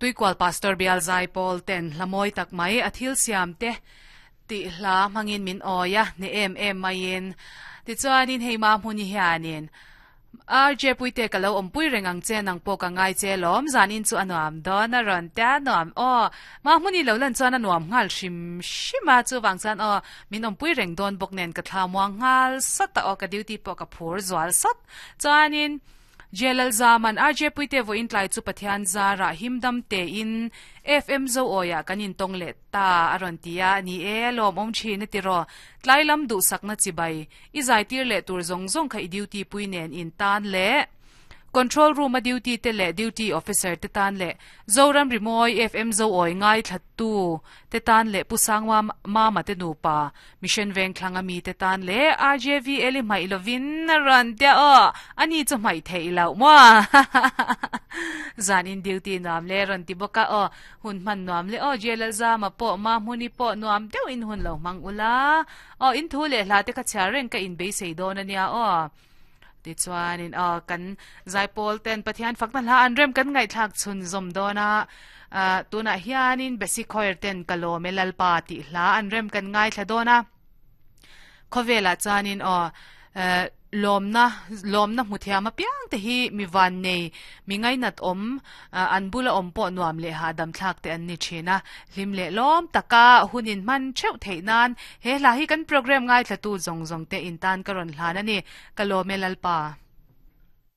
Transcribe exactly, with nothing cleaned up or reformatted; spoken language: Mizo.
Tuikual Pastor Bial Zaipawl ten hla mawi tak mai a thil siam te tih hla hmangin min awi a, ni em em maiin. Tichuanin hei ma hmuni hianin R J Puite ka lo awmpui reng ang che nang pawh ka ngai che lawm zanin chu a nuam dawn a rawn tia nuam aw ma hmuni lo lan chuan a nuam nghal hrim hrim a chuvang chuan aw min awmpui reng dawn bawk nen ka thla muang nghal sawt a aw ka duty pawh ka phur zual sawt chuanin J L Zaman R J Puite vawiin tlai chu Pathian zarah himdam tein F M zo awiah kan intawng leh ta a rawn ti a, ni e lawm awm thin a ti rawh. Tlai lam duhsakna chibai i zaitir leh tur zawng zawng kha i duty pui nen in tan leh Control room a duty te leh duty officer te tan leh Zoram Rimawi F M zo awi ngai thlattu te tan leh Pu Sangma Mama te nupa Mission veng thlang a mi te tan leh R J V L i hmaih lovin a rawn tia aw ani chu hmaih theih loh maw zan in duty nuam le rawn ti bawk a aw hun hman nuam le aw J L Zama pawh ma hmuni pawh nuam deuh in hun lo hmang ula aw in thu leh hla te kha chhiar reng ka in beisei dawn ania aw tichuanin aw kan Zaipawl ten Pathian fakna hla an rem kan ngaihthlak chhun zawm dawn a tunah hianin Basic Choir ten ka lawm e Lalpa tih hla an rem kan ngaithla dawn a khawvelah chuanin aw lawmna lawmna hmu thiam apiang te hi mi van nei mi ngainat awm an bula awm pawh nuam leh hahdam thlak te an ni thin a hlim leh lawm taka hunin hman theuh theih nan he hla hi kan program ngaithla tu zawng zawng te in tan ka rawn hlan ani ka lawm e Lalpa.